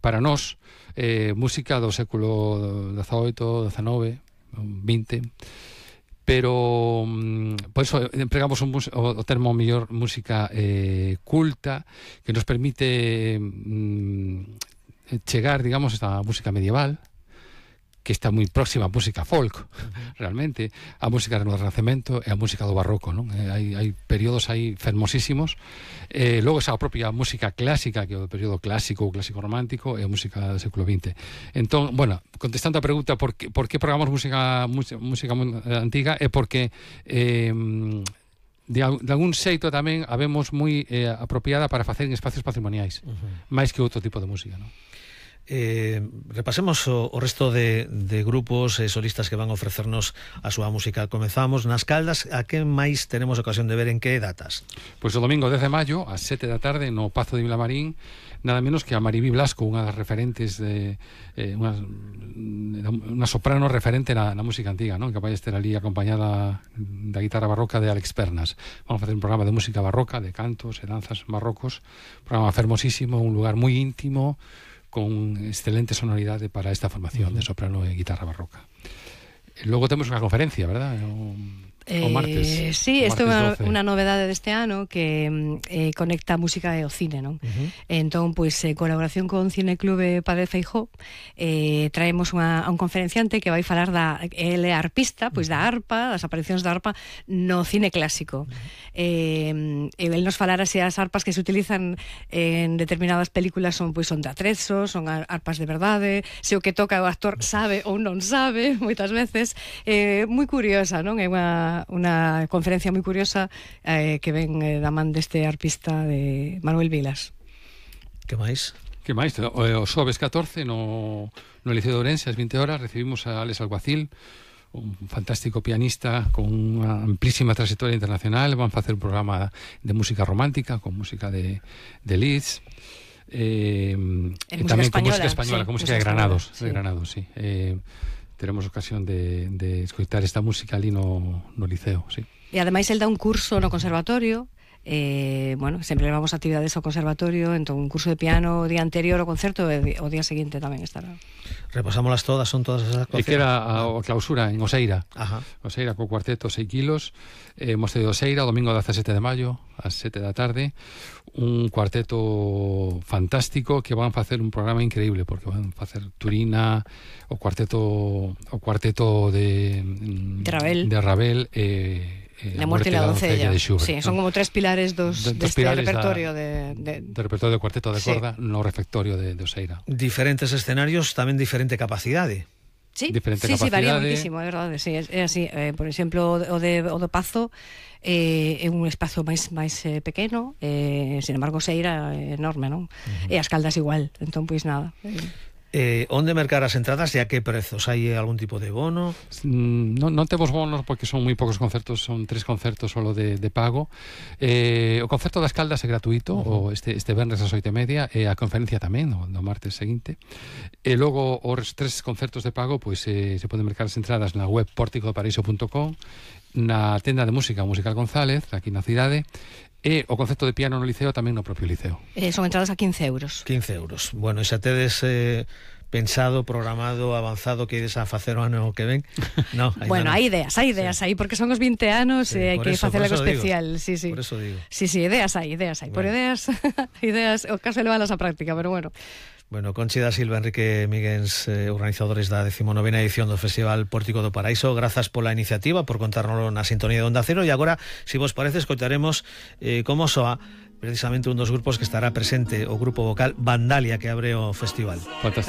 para nós, música do século XVIII, XIX, XX, pero por eso empregamos o termo mellor música culta, que nos permite chegar, digamos, esta música medieval, que está moi próxima a música folk, realmente, a música do Renacemento e a música do Barroco, non? Hai períodos aí fermosísimos. Logo esa propia música clásica, que é o período clásico ou clásico romántico, e a música do século XX. Entón, bueno, contestando a pregunta por que programamos música antiga, é porque de algún xeito tamén habemos moi apropiada para facer en espacios patrimoniais, máis que outro tipo de música, non? Repasemos o resto de grupos solistas que van a ofrecernos a súa música. Comezamos nas Caldas. A que máis tenemos ocasión de ver, en que datas? Pois o domingo 10 de maio ás 7 da tarde no Pazo de Vilamarín, nada menos que a Maribí Blasco, unha das referentes unha soprano referente na música antiga, non? Que vai estar ali acompañada da guitarra barroca de Alex Pernas. Vamos a facer un programa de música barroca, de cantos e danzas barrocos, un programa fermosísimo, un lugar moi íntimo, con excelente sonoridade para esta formación de soprano e guitarra barroca. Logo temos unha conferencia, verdad? O martes. Sí, isto é unha novedade deste ano que conecta a música e o cine, non? Entón, pois, colaboración con Cineclube Padre Feijóo, traemos un conferenciante que vai falar ele é arpista, pois da arpa, das aparicións da arpa no cine clásico. El nos falara se as arpas que se utilizan en determinadas películas son de atrezo, son arpas de verdade, se o que toca o actor sabe ou non sabe, moitas veces. Moi curiosa, non? É unha conferencia moi curiosa que ven da man deste arpista de Manuel Vilas. Que máis? Que máis? O xoves 14 no Liceo de Ourense, ás 20 horas, recibimos a Alex Alguacil, un fantástico pianista con unha amplísima trayectoria internacional. Van facer un programa de música romántica, con música de Liszt, e tamén con música española, con música de Granados, sí. Teremos ocasión de escoitar esta música ali no Liceo, sí. E ademais el dá un curso no conservatorio, sempre levamos actividades ao conservatorio, entón un curso de piano o día anterior ao concerto e o día seguinte tamén estará. Repasámolas todas, son todas esas actuacións. E que era a clausura en Oseira. Oseira co cuarteto 6 kilos, Mosteiro de Oseira, o domingo 17 de maio ás 7 da tarde, un cuarteto fantástico que van facer un programa increíble, porque van facer Turina, o cuarteto de Ravel La muerte y la doncella de Schubert. Sí, son como tres pilares deste repertorio do repertorio de cuarteto de corda no refectorio de Oseira. Diferentes escenarios, tamén diferente capacidade. Sí, varía muitísimo, é verdade. Sí, é así, por exemplo, o do Pazo é un espazo máis pequeno, sin embargo Oseira é enorme, non? E as Caldas igual, entón pois nada. Onde mercar as entradas e a que prezos? Hai algún tipo de bono? Non temos bonos porque son moi poucos concertos, son 3 concertos solo de pago. O concerto das Caldas é gratuito, este venres ás 8:30, e a conferencia tamén, no martes seguinte. E logo os 3 concertos de pago, pois se poden mercar as entradas na web porticodoparaíso.com, na tenda de música Musical González, aquí na cidade, e o concerto de piano no Liceo tamén no propio Liceo. Son entradas a 15 euros. 15 euros. Bueno, e xa tedes pensado, programado, avanzado que ides a facer o ano que ven? No, bueno, hai ideas aí, porque son os 20 anos e hai que facer algo especial. Sí. Por eso digo. Sí, ideas hai. Por ideas, o caso é leválas a práctica, pero bueno. Bueno, Conchi da Silva, Enrique Míguens, organizadores da 19ª edición do Festival Pórtico do Paraíso, grazas pola iniciativa, por contárnoslo na sintonía de Onda Cero. E agora, se vos parece, escoitaremos como soa precisamente un dos grupos que estará presente, o grupo vocal Vandalia, que abre o festival. Fantástico.